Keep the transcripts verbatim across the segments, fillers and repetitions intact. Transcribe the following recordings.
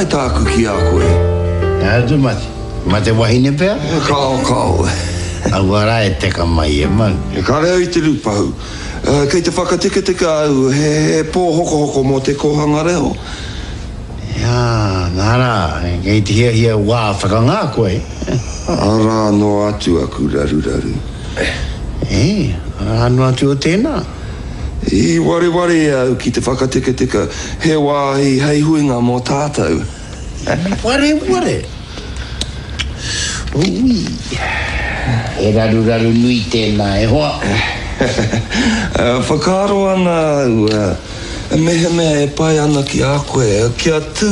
pātai tāku ki a koe. Ā, tu mate. Mate wahine pea? Kao, kao. Aua rā e teka mai e mau. E kare au i te rūpahu. Uh, kei te whakatikatika au he, he pō hokohoko mō te kōhanga reo. Jā, nā rā, kei te hiahia wā whakangā koe. Arā noa atu aku raruraru. E, arā noa atu o tēnā. I wareware au ki te whakatikatika he wāhi hei huinga mō tātou. Wareware? Ui, he raruraru nui tēnā e hoa. Whakaaro ana au, mehemea e pai ana ki a koe, kia tū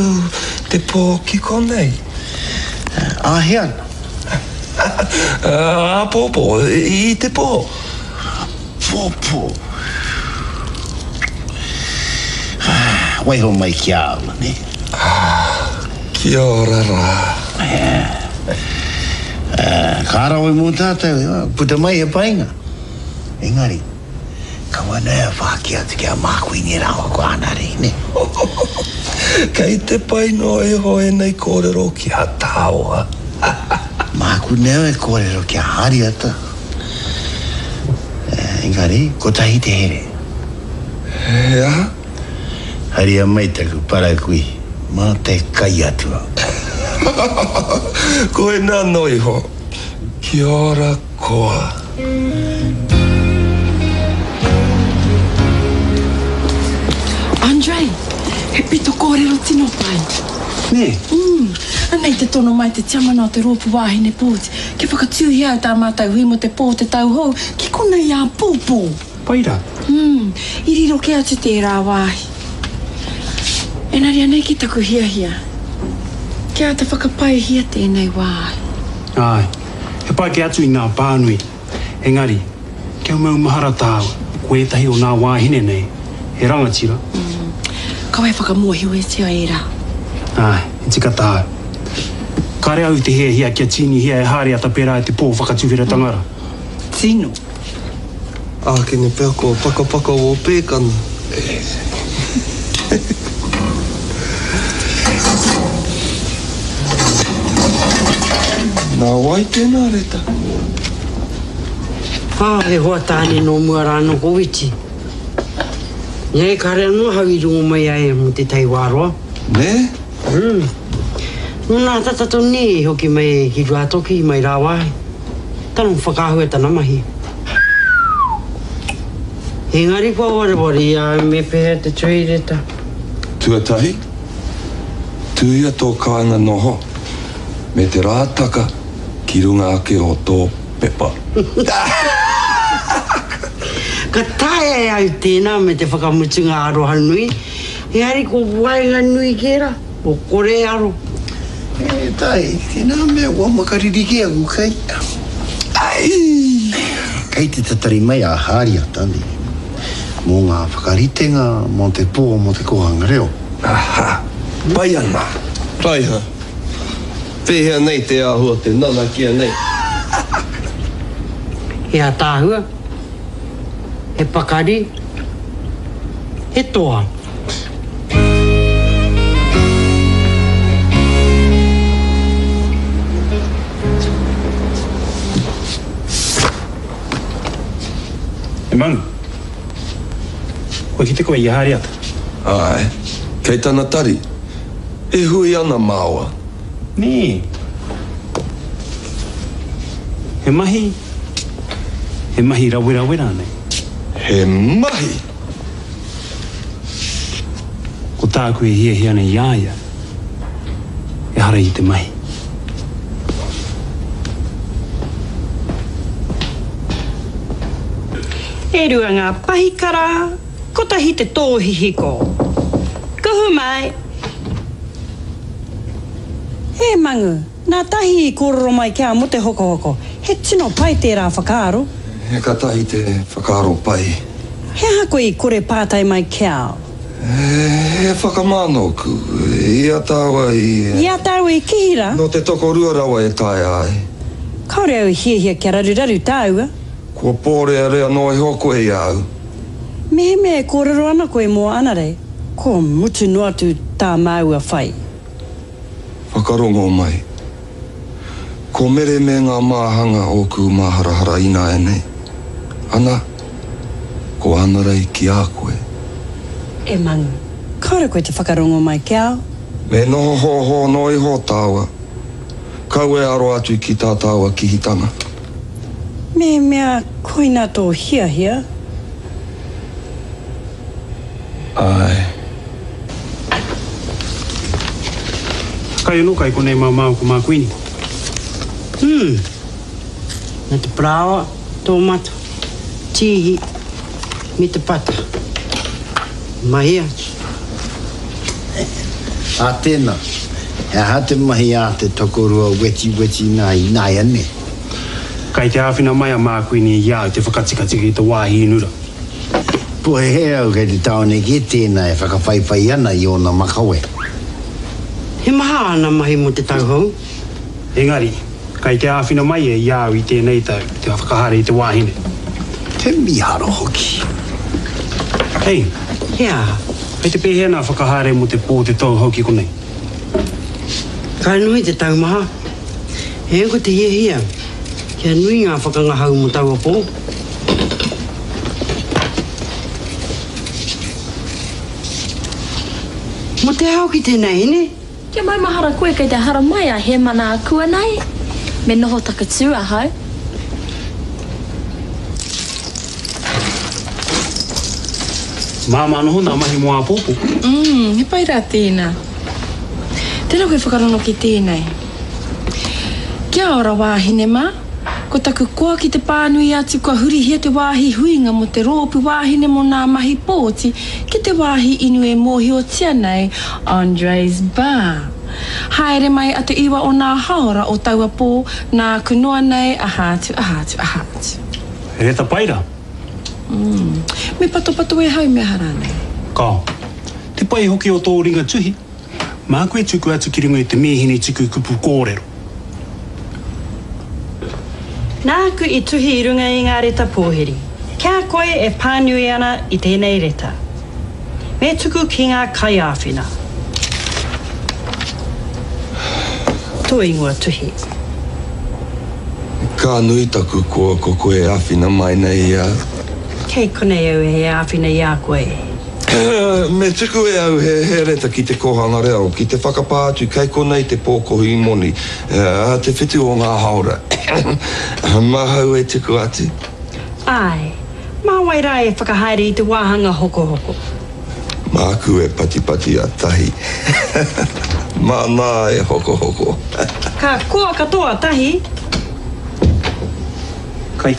te pō ki konei. Āhea ana? Āpōpō, i te pō. Āpōpō. Waiho mai ki a au, ne? Kia ora rā. Ka rawe mō tātou, puta mai he painga. Engari, kaua nei a whāki atu ki a Mākuini rāua ko Ānare, ne? Kei te pai noa iho ēnei kōrero ki a tāua. Māku nei e kōrero ki a Hāriata. Engari, kotahi te here. He aha? Haria mai taku parakui, mā te kai atua. Koe nā noa iho. Kia ora koa. Andre, he pito kōrero tino pai. Nē? Mm. Anei te tono mai te tiamana o te rōpū wāhine pōti. Kia whakatūhia au tā mātou hui mō te pō te tau hou, ki konei āpōpō. Pai rā? Mm. I riro kē atu tērā wāhi. Engari anei ki taku hiahia. Kia āta whakapaihia tēnei wāhi. Āe, he pai kē atu i ngā pānui. Engari, kia maumahara tāua, ko ētahi o ngā wāhine nei, he rangatira. Mm. Kaua e whakamōhioetia ērā. Āe, he tika tāu. Kāre au i te hiahia kia tīnihia e Hāriata pērā i te pō whakatuwheratanga rā. Tino. Ākene pea kua pakapaka wō pēkana. Nā wai tēnā reta? Ah, he hoa tāne nō mua rā nō ko Witi. Nei, kāre anō ahau i rongo mai ai mō te tai wāroa. Nē? Mm. Nō nā tata tonu nei i hoki mai ki Ruātoki, mai rāwāhi. Tana whakaahua tana mahi. Engari kua wareware i a au me pēhea te tuhi reta. Tuatahi, tuhia tō kāinga noho me te rātaka ki runga ake o tō pepa. Ka taea e au tēnā me te whakamutunga aroha nui, engari ko waenganui kē rā, ko kore aro. E tai, tēnā mea kua makariri kē aku kai. Ai! Kei te tatari mai a Hāriata, nē, mō ngā whakaritenga mō te pō mō te kōhanga reo. Aha, pai ana. Raiha, pēhea nei te āhua te nanakia nei? He ātaahua, he pakari, he toa. E Mangu, kua kite koe i a Hāriata? Āe, kei tana tari. E hui ana māua. Nē. He mahi, he mahi rawerawe rānei? He mahi? Ko tāku e hiahia ana i a ia, ehara i te mahi. E rua ngā pahikara, kotahi te tōhihiko. Kuhu mai! E Mangu, nā Tahi i kōrero mai ki a mō te hokohoko. He tino pai tērā whakaaro. He katahi te whakaaro pai. He aha koe i kore pātai mai ki a au? He whakamā nōku. I a tāua i... I a tāua i kihi rā? Nō te tokorua rawa e taea ai. Kāore au i hiahia kia raruraru tāua. Kua pōrearea noa iho koe i a au. Mehemea e kōrero ana koe mō Anarei, kua mutu noa atu tā māua whai. Whakarongo mai. Ko Mere me ngā māhanga ōku māharahara ināianei. Ana, ko Ānarei ki a koe. E Mangu, kāore koe te whakarongo mai ki au. Me noho hōhō noa iho tāua. Kaua e aro atu ki tā tāua kihitanga. Mehemea koina tō hiahia. Āe. Kai anō kai konei mā māua ko Mākuini. Hmm. Me te parāoa, tōmata, tīhi, me te pata. Mahi atu. Ā tēnā, he aha te mahi a te tokorua wetiweti nā ināianei? Kai te āwhina mai a Mākuini i a au te whakatikatika i te wāhi inura. Pohehe au kei te tāone kē tēnā e whakawhaiwhai ana i ōna makawe. He maha āna mahi mō te tau hou. Engari, kai te āwhina mai ia i a au i tēnei tau te whakahaere i te wāhine. Te mīharo hoki. Hei. He aha? Kei te pēhea nā whakahaere mō te pō te tau hou ki konei? Ka nui te taumaha. He ko te hiahia kia nui ngā whakangahau mō taua pō. Mō te aha hoki tēnei, hine? Kia maumahara koe kei te haramai a Hēmana akuanei. Me noho takatū ahau. Māmā noho nā mahi mō āpōpō. Mm, he pai rā tēnā. Tēnā koe whakarongo ki tēnei. Kia ora wāhine mā. Ko taku koa ki te pānui atu kua hurihia te wāhi huinga mō te rōpū wāhine mō nā mahi pōti ki te wāhi inu e mōhiotia nei Andre's Bar. Haere mai a te iwa o nā haora o taua pō, nāku noa nei aha atu, aha atu, aha atu. He reta pai rā. Mm. Me patopato e hau me aha rānei? Kao. Te pai hoki o tō ringa tuhi. Māku e tuku atu ki runga i te mīhini tuku kupu kōrero. Nāku i tuhi i runga i ngā reta pōhiri. Kia koe e pānui ana i tēnei reta. Me tuku ki ngā kaiāwhina. Tō ingoa tuhi. Ka nui taku koa ko koe e āwhina mai nei i a au. Kei konei au e āwhina i a koe. Me tuku e au he he reta ki te kōhanga reo, ki te whakapā atu kei konei te pōkohu moni, ā te whitu o ngā hāora. Māhau e tuku atu. Āe. Mā wai rā e whakahaere i te wāhanga hokohoko? Māku e patipati a Tahi. Māna e hokohoko. Ka koa katoa Tahi. Kai.